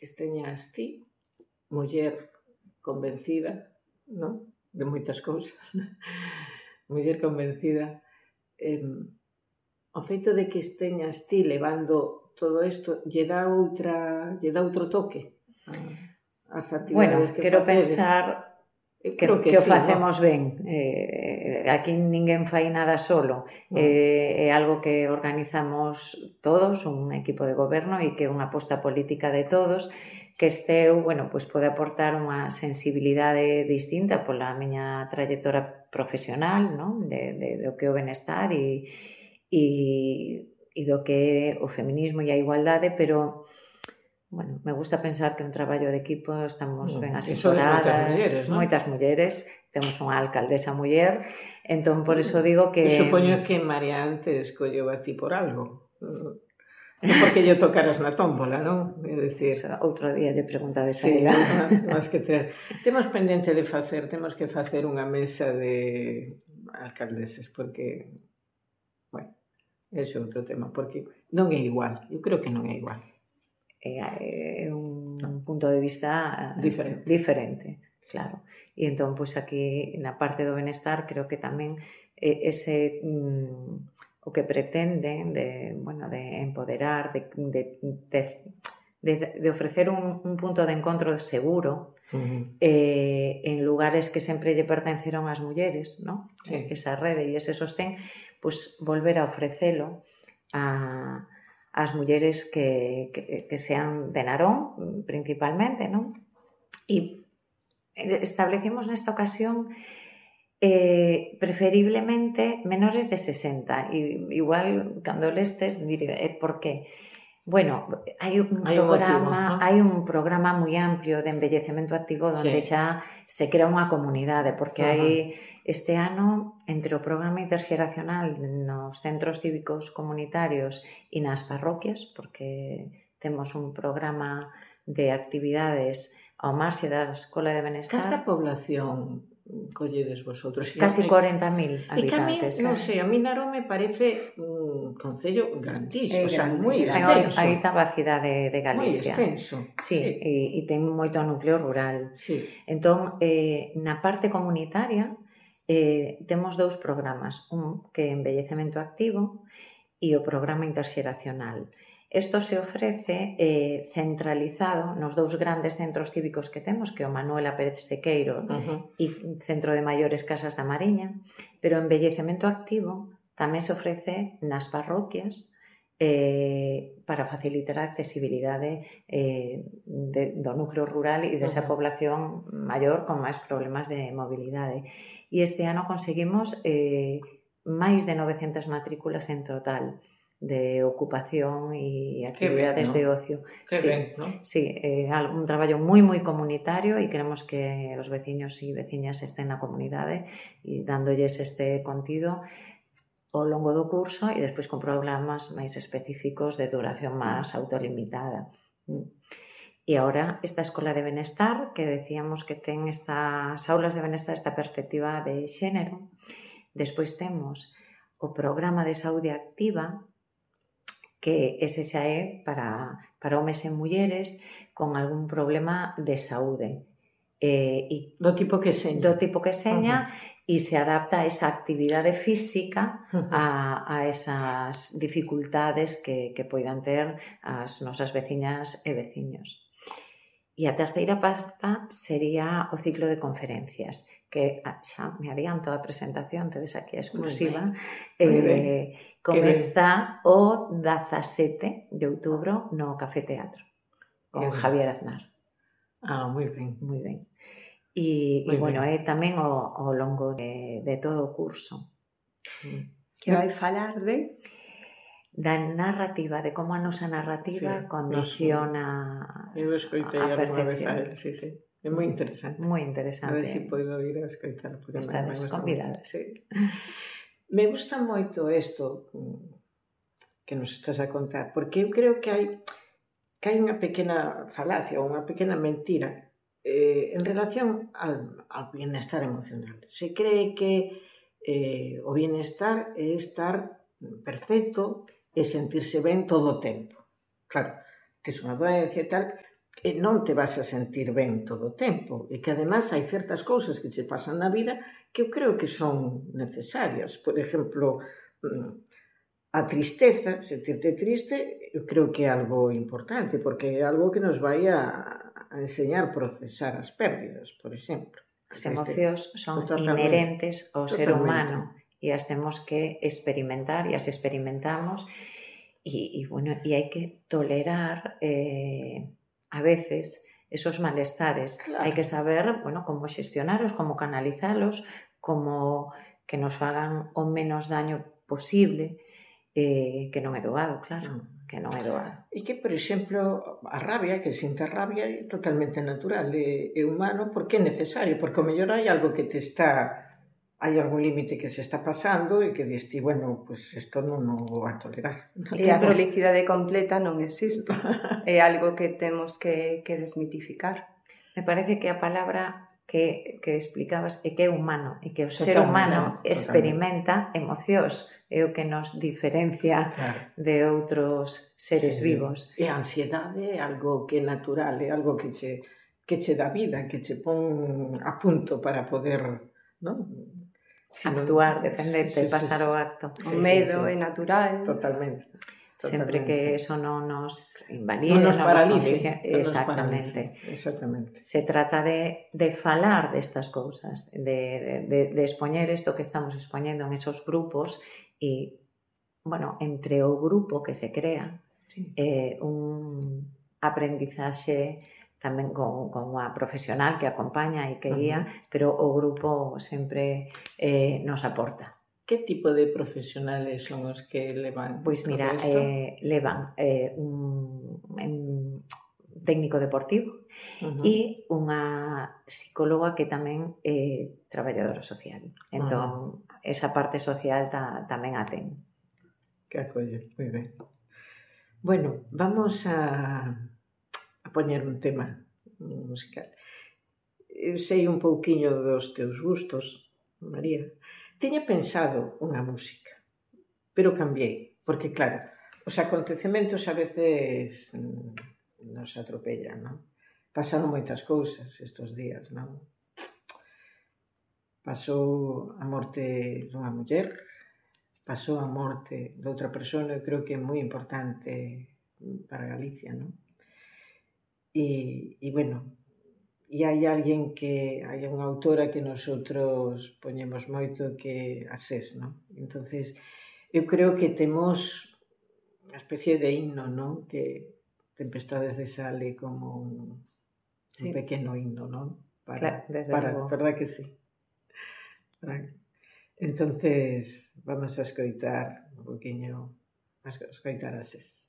esteñas ti, muller convencida, non? De moitas cousas. Muller convencida. O feito de que esteñas ti levando todo isto lle dá outro toque ás actividades que quero facedes. pensar que sí, o facemos ben. Aquí ninguén fai nada solo. É algo que organizamos todos, un equipo de goberno, e que é unha aposta política de todos, que pois pode aportar unha sensibilidade distinta pola miña trayectoria profesional, non? Do que é o benestar e do que é o feminismo e a igualdade, pero me gusta pensar que un traballo de equipo estamos ben asesoradas, moitas mulleres, temos unha alcaldesa muller, entón por iso digo que... Eu supoño que María antes escolleu a ti por algo, non porque lle tocaras na tómbola, non? É dicir... Outro día lle preguntades a ela. Temos pendente de temos que facer unha mesa de alcaldeses, porque, ese é outro tema, porque non é igual, eu creo que non é igual. É un punto de vista diferente, claro. E entón, pois aquí, na parte do benestar, creo que tamén ese o que pretenden de empoderar, de ofrecer un punto de encontro seguro en lugares que sempre lle pertenceron ás mulleres, non? Esa rede e ese sostén, pois volver a ofrecelo ás mulleres que sean de Narón, principalmente, non? E establecimos nesta ocasión preferiblemente menores de 60. Igual, cando lestes, diré, por qué? Hai un programa moi amplio de envellecemento activo onde xa se crea unha comunidade, porque hai este ano, entre o programa interxeracional nos centros cívicos comunitarios e nas parroquias, porque temos un programa de actividades ao marxe da Escola de Benestar. Canta población colledes vosotros? Casi 40.000 habitantes. Non sei, a mí Narón me parece un concello grandísimo, moi extenso. A oitava cidade de Galicia. Moi extenso. Sí, e ten moito núcleo rural. Entón, na parte comunitaria, temos dous programas, un que é envellecemento activo e o programa interxeracional. Isto se ofrece centralizado nos dous grandes centros cívicos que temos, que é o Manuela Pérez Sequeiro e Centro de Maiores Casas da Mariña, pero o envellecemento activo tamén se ofrece nas parroquias para facilitar a accesibilidade do núcleo rural e desa población maior con máis problemas de mobilidade. E este ano conseguimos máis de 900 matrículas en total de ocupación e actividades de ocio. Sí, un traballo moi comunitario e queremos que os veciños e veciñas estén na comunidade e dándolles este contido ao longo do curso e despois con programas máis específicos de duración máis autolimitada. E agora, esta Escola de Benestar, que decíamos que ten estas aulas de benestar, esta perspectiva de xénero. Despois temos o programa de saúde activa, que ese xa é para homes e mulleres con algún problema de saúde. Do tipo que seña e se adapta a esa actividade física a esas dificultades que poidan ter as nosas veciñas e veciños. E a terceira pasta sería o ciclo de conferencias, que xa me adianto a presentación, tedes aquí a exclusiva. Comeza o 17 de outubro no Café Teatro, con Javier Aznar. Moi ben. Moi ben. E é tamén ao longo de todo o curso. Que vai falar da narrativa, de como a nosa narrativa condiciona eu escoitei a percepción. É moi interesante. Moi interesante. A ver se podo ir a escoitar. Estades convidadas. Me gusta moito isto que nos estás a contar, porque eu creo que hai unha pequena falacia ou unha pequena mentira en relación ao bienestar emocional. Se cree que o bienestar é estar perfecto e sentirse ben todo o tempo. Claro, tes unha doencia e tal, e non te vas a sentir ben todo o tempo, e que además hai certas cousas que che pasan na vida que eu creo que son necesarias. Por exemplo, a tristeza, sentirte triste, eu creo que é algo importante, porque é algo que nos vai a enseñar a procesar as pérdidas, por exemplo. As emocións son inherentes ao ser humano e as temos que experimentar e as experimentamos e hai que tolerar a veces esos malestares. Claro. Hai que saber, como xestionalos, como canalizalos, como que nos fagan o menos daño posible, que non é doado, claro, que non é doado. E que, por exemplo, a rabia, que sinta rabia é totalmente natural, é humano, porque é necesario, porque o mellor hai algo que te está... Hai algún límite que se está pasando e que diste, bueno, pues isto non o vou a tolerar. E a felicidade completa non existe. É algo que temos que desmitificar. Me parece que a palabra que explicabas é que é humano, e que o ser humano experimenta emocións, é o que nos diferencia de outros seres vivos. E a ansiedade é algo que é natural, é algo que che dá vida, que che pon a punto para poder, non? Actuar, defenderte, pasar o acto. O medo é natural. Totalmente. Sempre que eso non nos invalide, non nos paralice. Exactamente. Se trata de falar destas cousas, de expoñer isto que estamos expoñendo en esos grupos e, entre o grupo que se crea, un aprendizaxe tamén con unha profesional que acompaña e que guía, pero o grupo sempre nos aporta. Que tipo de profesionales son os que levan? Pois mira, levan un técnico deportivo e unha psicóloga que tamén é traballadora social. Entón, esa parte social tamén a ten. Que acolle, moi ben. Bueno, vamos a poñer un tema musical. Eu sei un pouquiño dos teus gustos, María. Tiña pensado unha música, pero cambiei, porque claro, os acontecementos a veces nos atropellan, non? Pasaron moitas cousas estes días, non? Pasou a morte dunha muller, pasou a morte de outra persona, eu creo que é moi importante para Galicia, non? E hai unha autora que nosotros poñemos moito, que a SES, non? Entonces, eu creo que temos unha especie de himno, non? Que Tempestades de Sal é como un pequeno himno, non? Verdad que sí? Entonces, vamos a escoitar un poquinho, a escoitar a SES.